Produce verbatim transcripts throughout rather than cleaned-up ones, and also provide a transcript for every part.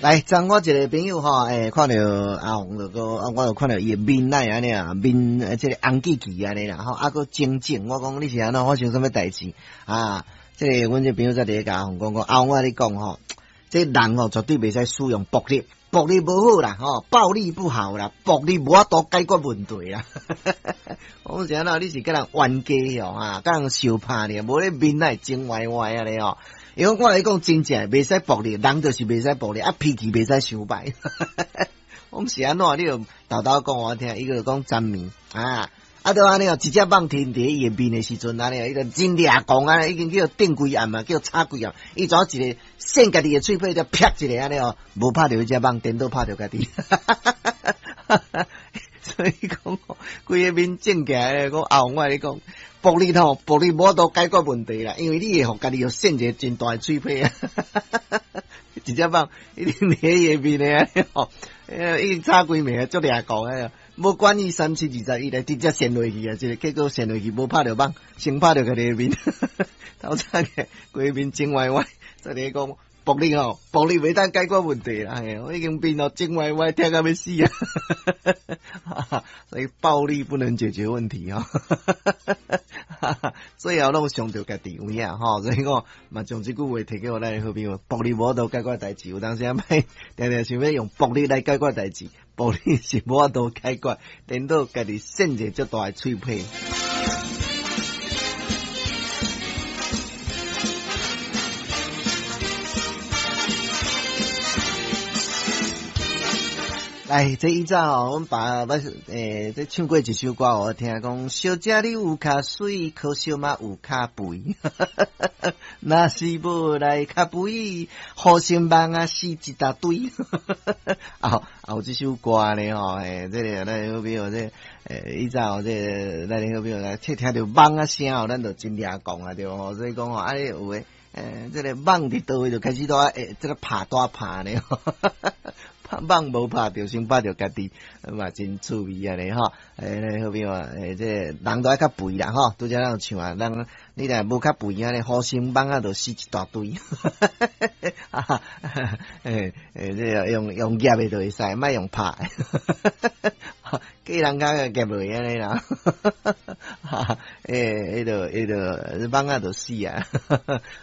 來，昨我一个朋友吼，欸，看著阿紅就閣，我就看著伊的面來按呢啊，面這个紅記記按呢啦，吼，啊閣腫腫，我講你是按怎發生啥物代誌啊？這个阮這朋友才佇咧共阿紅講講，阿紅我共你講吼，這人吼絕對袂使使用暴力，暴力無好啦，吼，暴力不好啦，暴力無法度解決問題啦。我講是按怎，你是佮人冤家哦，啊，佮人相拍爾，無你面來腫歪歪按呢吼。因為我來講真正袂使暴力，人就是袂使暴力，啊脾氣袂使傷歹。我講是按怎，你就沓沓講予我聽，伊就講昨暝啊，啊著按呢哦，一隻蠓停佇伊的面的時陣，按呢，伊就真掠狂啊，已經叫釘規暗啊，叫插規暗，伊怎一个扇家己的喙皮，就啪一个按呢哦，無拍著彼隻蠓，顛倒拍著家己。所以講，規个面腫起來，講阿紅我共你講。暴力吼，暴力無法度解決問題啦，因為你會予家己又扇一个真大的喙皮啊！一隻蠓一定佇伊的面的吼，已經插規暝啊，足掠狂的，無管伊三七二十一來直接扇落去啊！這個結果扇落去無拍著蠓，先拍著家己的面，頭早起規面腫歪歪，所以講暴力吼，暴力袂當解決問題啦，我已經面都腫歪歪，疼甲欲死啊！所以暴力不能解決問題哦。最後攏傷著家己有影吼，所以講嘛，將這句話提給予咱的好朋友，暴力無法度解決代誌，有當時仔欲定定想欲用暴力來解決代誌，暴力是無法度解決，顛倒家己扇一個足大的喙皮。來，這以早吼，阮爸捌欸，這唱過一首歌，予我聽講，小姐你有較媠，可惜嘛有較肥。若是無來較肥，雨生蠓仔死一大堆。啊，有這首歌呢吼，欸，這个咱好朋友這，欸，以早這个咱好朋友來聽聽著蠓仔聲吼，咱就真掠狂啊，對無？所以講吼，啊，有的，欸，這个蠓佇佗位就開始都欸，這个拍大拍呢。拍蠓無拍著，先拍著家己，嘛真趣味按呢吼。欸，好朋友啊，欸，這個人都愛較肥啦吼，拄才咱有唱啊，人你若無較肥按呢，雨生蠓仔就死一大堆。欸欸，這个用用夾的就會使，莫用拍。叫人家夾落按呢啦。欸，彼就彼就蠓仔就死啊。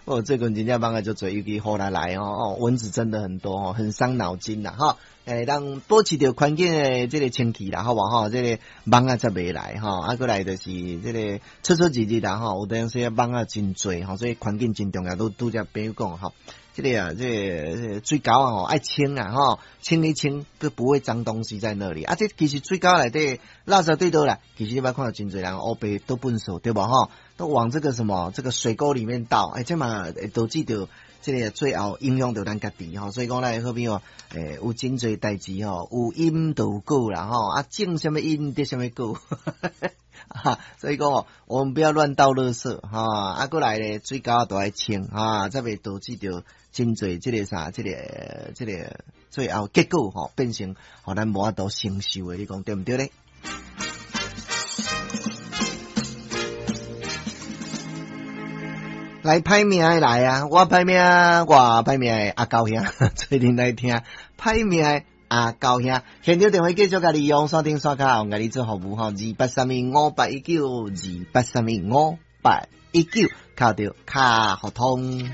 哦，最近真正蠓仔足濟，尤其雨來來哦，蚊子真的很多哦，很傷腦筋啦吼。欸，咱保持著環境的這个清氣啦，好無吼？這个蠓仔才袂來吼，啊，閣來就是這个出出入入啦吼，有當時啊蠓仔真濟吼，所以環境真重要。拄拄才朋友講吼，這个啊，這个水溝啊吼，愛清啊吼，清一清，閣不會髒東西在那裡。啊，這其實水溝內底垃圾對佗來，其實你捌看到真濟人烏白倒糞埽對無吼？都往這個什麼這個水溝裡面倒，欸，這嘛會導致著這个最後影響著咱家己吼，所以講咱的好朋友，欸，有真濟代誌吼，有因就有果啦吼，啊，種啥物因得啥物果，所以講我們不要亂倒垃圾哈，啊，閣來咧水溝都愛清哈，才袂導致著真濟這个啥，這个這个最後結果吼變成予咱無法度承受的，你講對毋對咧？來歹命的來啊！我歹命，我歹命的阿高兄，做陣來聽歹命的阿高兄。現場電話繼續共你用線頂線跤，共你做服務吼，二八三一五八一九，二八三一五八一九，敲著較予通。